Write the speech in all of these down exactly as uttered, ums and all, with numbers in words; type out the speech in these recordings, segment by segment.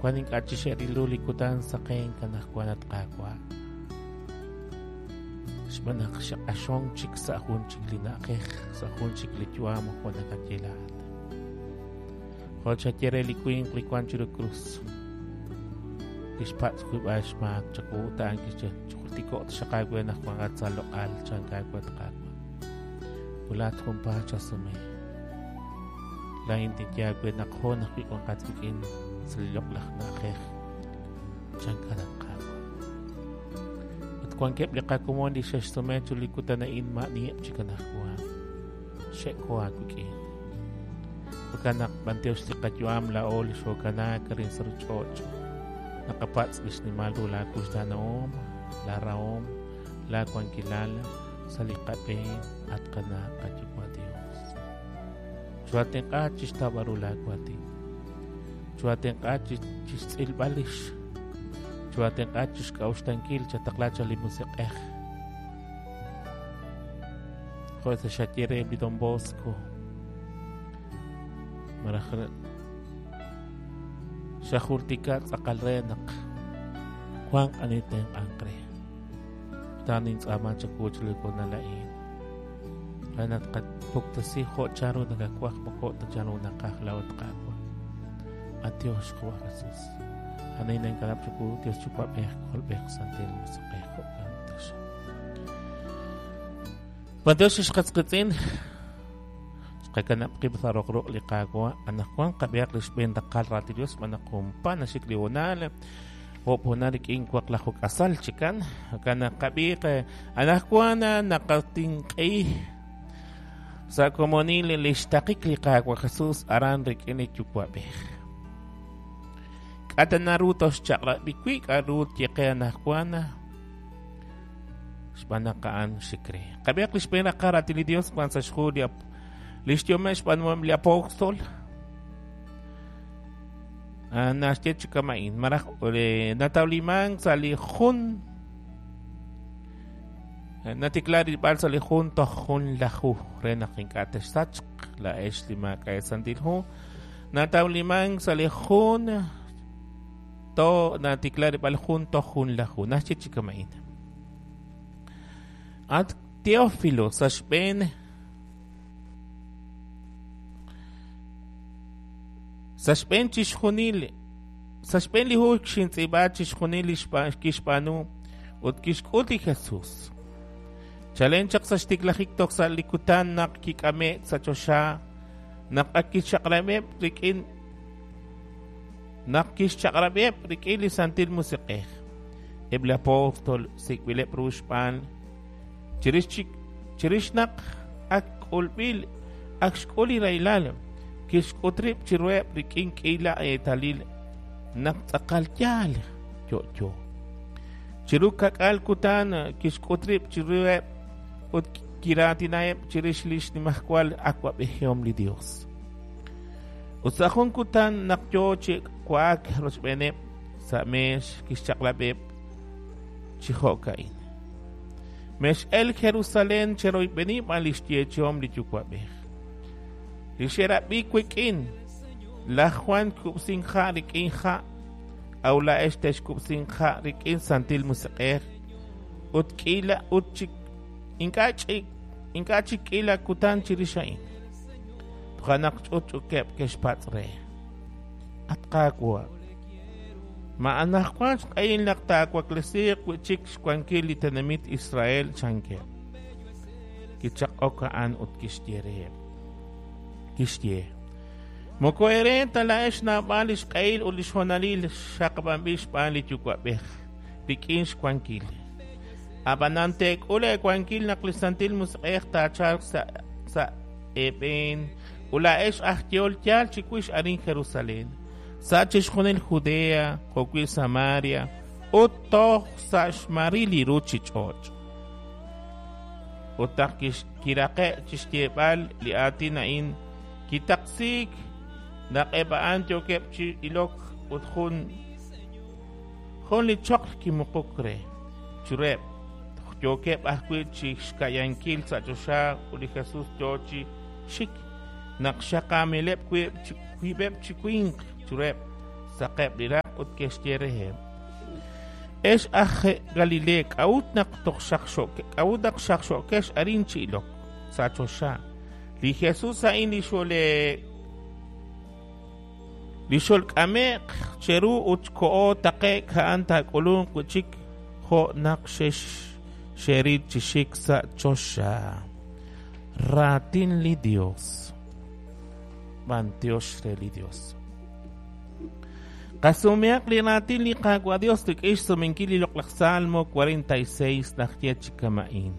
Wan ink'a' chi xe'ril ru li kutan saqenk anaqwan at Qaawa'. Xb'aan naq xe'q'axonk chik sa' jun chik li na'ajej, sa' jun chik li yu'am jo' nakaye laa'at. Jo' xaye re li winq li wank chiru krus, kixpatz' wiib'al xmaak chawu ut a'an kixye, chijultiko'q taxaq aawe naq wanqat sa' loq'al, chank aawe at Qaawa'. Ut laa'at junpaat xasume. Laa'in tinye aawe naq hoon ajwi' wanqat wik'in sa' li loq'laj na'ajej, chankat at Qaawa'. Ut wankeb' li qakomon li xe'xsume chiru li kutan a'in ma'aniheb' chik anaqwan, xe'ko aawik'in. Jo'kan naq b'antiox li qayu'am laa'o li xookanaak arin sa' ruuchich'och', naqapatz' li xnimal ru laakuxtaanahom, laarahom, laawankilal sa' li qab'een at qana' qayuwa' Dios. Choohatenq'a chixtawb'al ru laawaatin. Choohatenq'a chixtz'ilb'al lix. Choohatenq'a chixk'a'uxlankil chataqla chaq li Musiq'ej. Jo' sa' xaye reheb' li Don Bosco, malaj xajultika tz'aqal re naq wanq ani tenq'anq re. Ut a'an nintz'aama chawu chiru li hoonal a'in. Re naq tqapuktesi jo' chanru nakawaj, moko jo' ta chanru naqaj laa'o at Qaawa'. Adiós, Qawa' Jesús. A'an ninkanab' chawu, Dios Yuwa'b'ej, K'ajolb'ej, Santil Musiq'ej, jo'kan taxaq. B'antiox xqatzqitz'in, xqakanab' qib' sa' roq ruq' li Qaawa'. Anaqwan qab'ihaq li xb'een raqal raatin Dios xb'aan naq junpa naxik li hoonal, oob' hoonal rik'in waqlaju k'asal chikan. Jo'kan naq qab'iiq anaqwan naqatinq'i sa' komonil li xtaqik li Qaawa' Jesús aran rik'in li Yuwa'b'ej. K'a' ta naru toxchaq'rab'i wi' k'a'ru tyeqe anaqwan xb'aan naq a'an xik re. Qab'ihaq li xb'een raqal raatin li Dios wan sa' xhu li li xyome xb'aanuhom li apóstol. Naxye chi kama'in, malaj natawlimank sa' li jun natikla rilb'al sa' li jun toj jun laju re naq ink'a' texsachq laa'ex li maak'a' Santil Hu. Natawlimank sa' li jun to natikla rilb'al jun toj jun laju. Naxye chi kama'in. At Teófilo sa' xb'een sa' xb'een chixjunil sa' xb'een li hu xintz'iib'a chixjunil li kixb'aanu ut kixk'ut li Jesús. Chalen chaq sa' xtiklajik toj sa' li kutan naq kik'ame'k sa' choxa, naq ak kixchaq'rab'eb' rik'in naq kixchaq'rab'eb' rik'in li Santil Musiq'ej. Eb' li apóstol sik'b'ileb' ru xb'aan chirix chik chirix naq ak k'ulb'il ak xk'ul li rahilal, kixk'ut rib' chiruheb' rik'in k'iila eetalil naq tz'aqal yaal yo'yo. Chiru kak'al kutan kixk'ut rib' chiruheb' ut kiraatinaheb' chirix li xnimajwal awa'b'ejihom li Dios. Ut sa' jun kutan naq yoo chi wa'ak rochb'eeneb' sa' meex kixchaq'rab'eb' chi jo'ka'in. Mex'el Jerusalén cheroyb'eni b'an li xyeechihom li Yuwa'b'ej. Li xe'rab'i wik'in, laj Juan kub'sink ha' rik'in ha', aw laa'ex texkub'sink ha' rik'in Santil Musiq'ej ut k'iila ut chik ink'a' ch'ik ink'a' chik k'iila kutan chirix a'in. Toja' naq ch'utch'ukeb' ke'xpatz' re. At Qaawa', ma anaqwan xq'ehil naq taawaklesiiq wi'chik xwankil li tenamit Israel, chankeb'. Kichaq'ok a'an ut kixye reheb'. Kixye, moko eere ta laa'ex naab'al li xq'ehil ut li xhoonalil xaqab'anb'il xb'aan li Yuwa'b'ej rik'in xwankil. Ab'anan teek'ul eewankil naq li Santil Musiq'ej taachalq sa' sa' eeb'een ut laa'ex aj yehol yaal chiwix arin Jerusalén, sa' chixjunil Judea, jo'wi' Samaria ut toj sa' xmaril li ruuchich'och'. Ut naq kiraqe' chixyeeb'al li aatin a'in, kitaqsiik naq eb' a'an yookeb' chi ilok ut jun jun li choql kimuquk re chiruheb'. Yookeb' ajwi' chi xka'yankil sa' choxa ut li Jesús yoo chi xik naq xaqaamileb' wiib'eb' chi winq chiruheb', saqeb' li raq' ut ke'xye reheb': Ex aj Galilea, k'a'ut naq toj xaqxo'ke k'a'ut naq xaqxo'kex arin chi ilok sa' choxa? Li Jesus a'in li xole li xolk'ame'q cheru ut koho taqe'k a'an taak'ulunq wi' chik jo' naq xex xeril chi xik sa' choxa. Raatin li Dios. B'antiox re li Dios. Qasumehaq li raatin li Qaawa' Dios rik'in xsumenkil li loq'laj Salmo cuarenta y seis najye chi kama'in.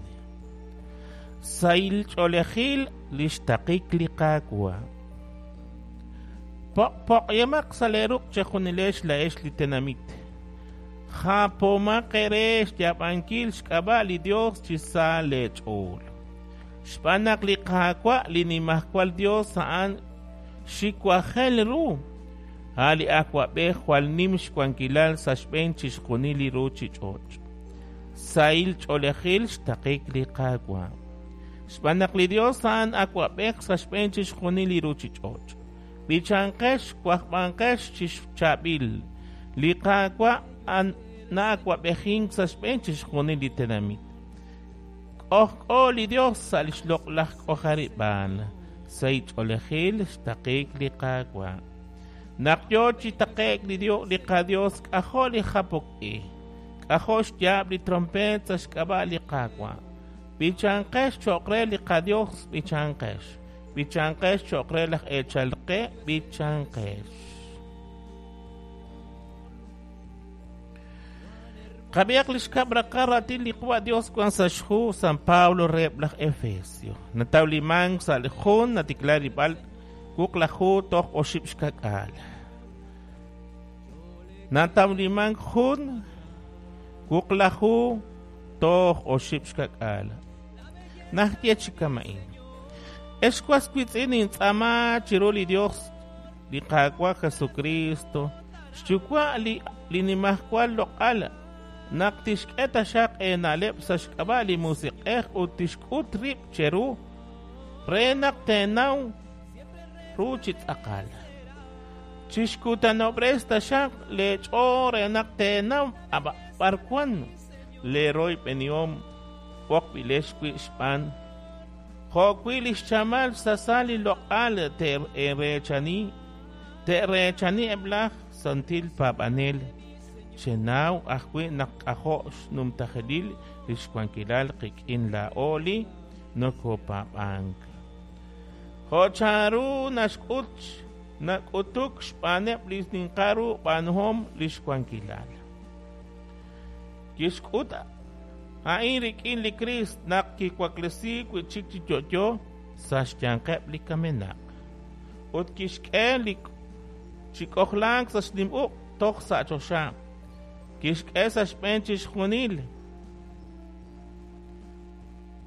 Sahil ch'oolejil li xtaqik li Qaawa'. Poq'-poq'yemaq sa' lee ruq' chejunilex la'ex li tenamit. Japomaq eere xyaab'ankil xk'ab'a' li Dios chi sa lee ch'ool. Xb'aan naq li Qaawa' li nimajwal Dios a'an xiwajel ru. A' li awab'ej jwal nim xwankilal sa' xb'een chixjunil li ruuchich'och'. Sahil ch'oolejil xtaqik li Qaawa'. Xb'aan naq li Dios a'an awab'ej sa' xb'een chixjunil li ruuchich'och'. B'ichanqex wajb'anqex chi chaab'il. Li Qaawa' na'awab'ejink sa' xb'een chixjunil li tenamit. K'ojk'o li Dios sa' li xloq'laj k'ojarib'aal. Sahil ch'oolejil xtaqik li Qaawa'. Naq yo chi taqe'k li Dios li qaDios k'ajo' li japok-i. K'ajo' xyaab' li trompeet sa' xk'ab'a' li Qaawa'. B'ichanqex cho'q re li qaDios, b'ichanqex. B'ichanqex cho'q re laj eechal qe, b'ichanqex. Qab'ihaq li xkab' raqal raatin li Qaawa' Dios wan sa' xhu San Pablo reheb' laj Efesio. Natawlimank sa' li jun natikla rib'al wuqlaju toj oxib' xkak'aal. Natawlimank jun wuqlaju toj oxib' xkak'aal. Najye chi kama'in. Ex was wiitz'in nintz'aama chiru li Dios li Qaawa' Jesucristo xyuwa' li li nimajwal loq'al naq tixk'e taxaq eena'leb' sa' xk'ab'a' li Musiq'ej ut tixk'ut rib' cheru re naq teenaw ru chi tz'aqal. Chixkutanob'res taxaq leech'ool re naq teenaw b'ar wan leeroyb'enihom b'oqb'ilex wi' xb'aan jo' wi' li xchamal xsasal li loq'al te'reechani te'reechani eb' laj santil paab'anel. Chenaw ajwi' naq k'ajo' xnumtajelil li xwankilal qik'in laa'o li nokopaab'ank. Jo' chanru naxk'ut nak'utuk xb'aaneb' li ninqal ru b'aanuhom li xwankilal. Kixk'ut a'in rik'in li Kriist naq kiwaklesiik wi' chik chi yo'yo sa' xyanqeb' li kamenaq. Ut kixk'e li chi k'ojlank sa' xnim uq' toj sa' choxa. Kixk'e sa' xb'een chixjunil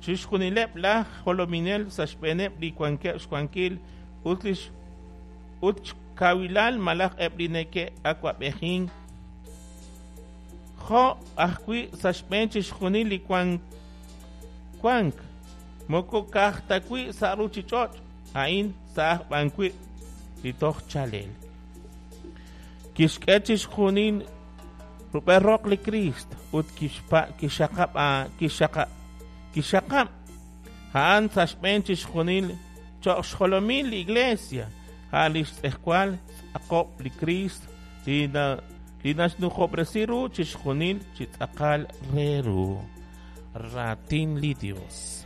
chixjunileb' laj jolominel sa' xb'eeneb' li wankeb' xwankil ut li ut xkawilal malaj eb' li neke'awab'ejink jo' ajwi' sa' xb'een chixjunil li wank wank moko ka'aj ta wi' sa' ruuchich'och' a'in sa' aj b'an wi' li toj chalel. Kixk'e chixjunil rub'el roq li Kriist ut kixpa kixxaqab' kixxaqab' kixxaqab' a'an sa' xb'een chixjunil cho'q xjolomil li Iglesia a' li xtz'ejwal tz'aqob' li Kriist li na li naxnujob'resi ru chixjunil chi tz'aqal re ru. Raatin li Dios.